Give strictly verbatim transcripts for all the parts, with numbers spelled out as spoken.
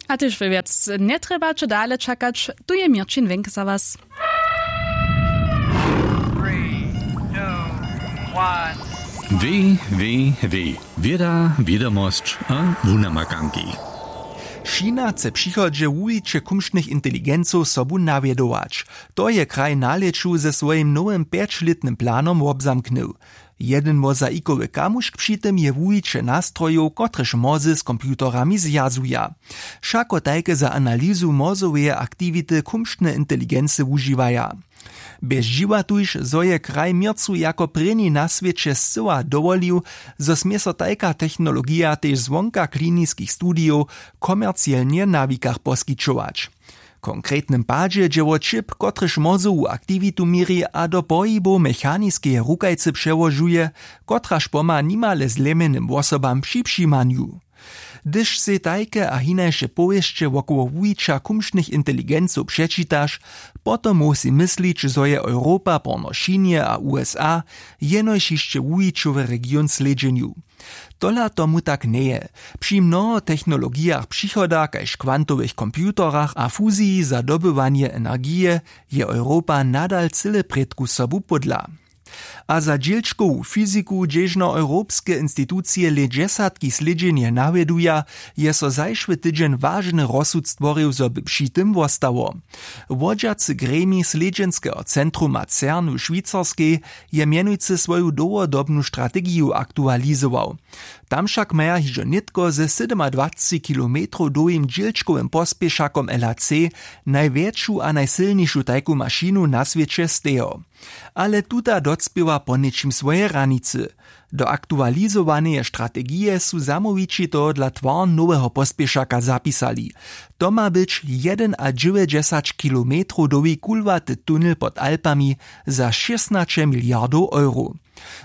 A tež wy wjac njetrjebaće dale čakać. Tu je měrćin wenk za was. W w w wěda, wědomosć a wunamakanki. China chce w přichodźe wuwiće kumšnych inteligencow sobu nawjedować. To je kraj na lěću ze swojim nowym pjećlětnym planom wobzamknył. Jedyn wozajikowy kamušk při tym je wuwiće nastrojow, kotrež młozy z computerami zwjazuja. Wšako tajke za analyzu młozoweje aktiwity kumšne inteligency wužiwaja. Bjezdźiwa tuž, zo je kraj měrcu jako prěni na swěće scyła dowolił, zo smě so tajka technologija tež zwonka kliniskich studijow komercielnje na wikach poskićować. W konkretnym padźe dźe wo čip, kotryž młozowu aktiwitu měri a do pohibow mechaniskeje rukajcy přełožuje, kotraž pomha nimale zlemjenym wosobam při přimanju. Hdyž sej tajke a hinaše powěsće wokoło wuwića kumšnych inteligencow přečitaš, potom móhł sej myslić, zo je Europa porno Chinje a U S A jenož hišće wuwićowy region w slědźenju. Tola tomu tak njeje. Při mnoho technologijach přichoda kaž kwantowych computerach a fuziji za dobywanje energije je Europa nadal cyle prědku sobu pódla. A za dźělčkowu fiziku, hdźežno europske institucije lět dźesatki slědźenje nawjeduja, je so zašły tydźeń wažny rozsud stworił, zo by při tym wostało. Wodźacy gremij slědźenskeho centruma cern w Šwicarskej je mjenujcy swoju dołhodobnu strategiju aktualizował. Tam wšak maja hižo nětko ze sydomadwacci kilometrow dołhim dźělčkowym pospěšakom L H C najwjetšu a najsylnišu tajku mašinu na swěće stejo. Ale tuta docpěła poněčim swoje hranicy. Do aktualizowaneje strategije su zamołwići tohodla twar noweho pospěšaka zapisali. To ma być jedenadźewjećdźesać kilometrow dołhi kulwaty tunel pod Alpami za šěsnaće miliardow euro.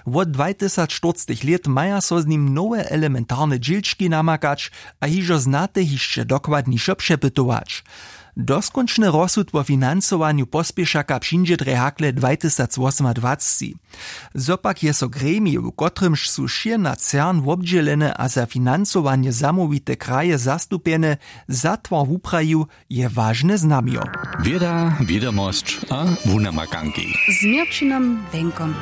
Wot dwajtysacštyrcetych lět maja so z nim nowe elementarne dźělčki namakać a hižo znate hišće dokładnišo přepytować. Doskónčny rozsud wo financowanju pospěšaka přińdźe drje hakle dwajtysacwosomadwacci. Zo pak je so gremij, w kotrymž su wšěna cern wobdźělene a za financowanje zamołwite kraje zastupjene, za twar wuprajił, je wažne znamjo. Wěda, wědomosć a wunamakanki. Z měrćinom wenkom.